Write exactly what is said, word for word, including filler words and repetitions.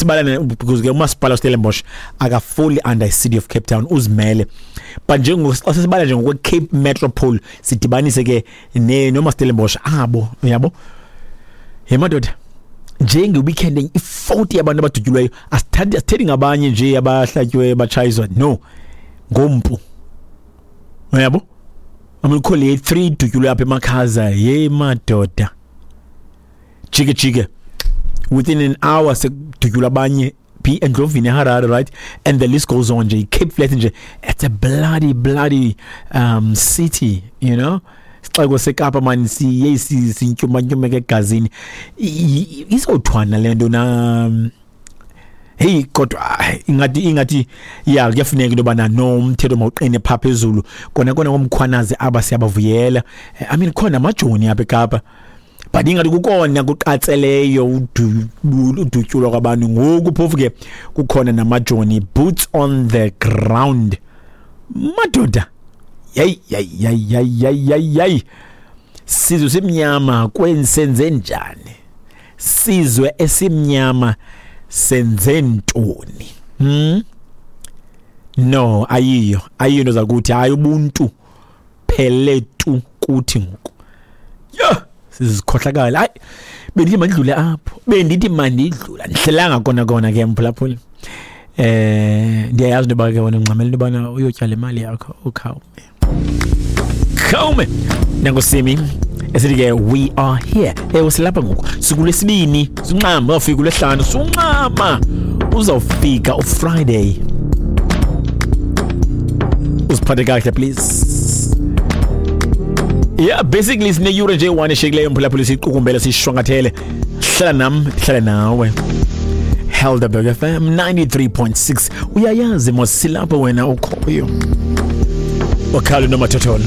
Sibala because ke umasipala Stellenbosch akafoli under City of Cape Town, uzimele, but njengo xa sibala nje ngokwe Cape Metropole, sidibanise ke ne noma Stellenbosch abo, uyabo. Hey madoda, njenge weekend i-forty yabantu abadutyulweyo, asithathi asithethi ngabanye nje abahlatywe batshayiswa, no, ngompu, uyabo. Amukho le three dutyulwe apha emakhaza. Hey madoda, jike jike, within an hour sekudutyulwa abanye phi? Endlovini, eHarare, right? And the list goes on nje. Cape Flats nje, it's a bloody bloody um city you know Sixeko seKapa man, siye sintyumanyumeka egazini. Izawuthwana le nto na? Hey, kodwa ingathi ingathi ya, kuyafuneka into yobana no, umthetho mawuqine phaa phezulu. Kona kona koMkhwanazi aba siyabavuyela. I mean, khona amajoni apha eKapa, but ingathi kukona kuqatseleyo udutyulwa kwabantu ngoku, phofu ke kukhona namajoni, boots on the ground, madoda. Yayi yayi yayi yayi yayi yayi, sizwe simnyama, kwensenze njani? Sizwe esimnyama, senze ntoni? hmm no ayiyo ayiyo into zakuthi. Hayi, ubuntu phele tu kuthi ngoku. Yho, sizikhohlakala. Hayi, bendithi mandidlule apho, bendithi mandidlula, ndihlelanga kona kona ke, mphulaphuli. eh ndiyayazi into yoba ke wena ungxamela into yobana uyotyala imali yakho. Ukhawume khawume nangosimi esithi ke we are here. Ewe, silapha ngoku, sikulwesibini, sinxama, uzawufika ulwesihlanu, sunxama, uzawufika uFriday. Uziphathe kakuhle please. Yeah, basically sineyure nje one eshiyekileyo, mphulaphuli, siyiqukumbele, siyishwankathele. Hlala nam, hlala nawe. Helderberg F M ninety-three point six, uyayazi mos, silapho wena ukhoyo. Ukhalo nomathotholo.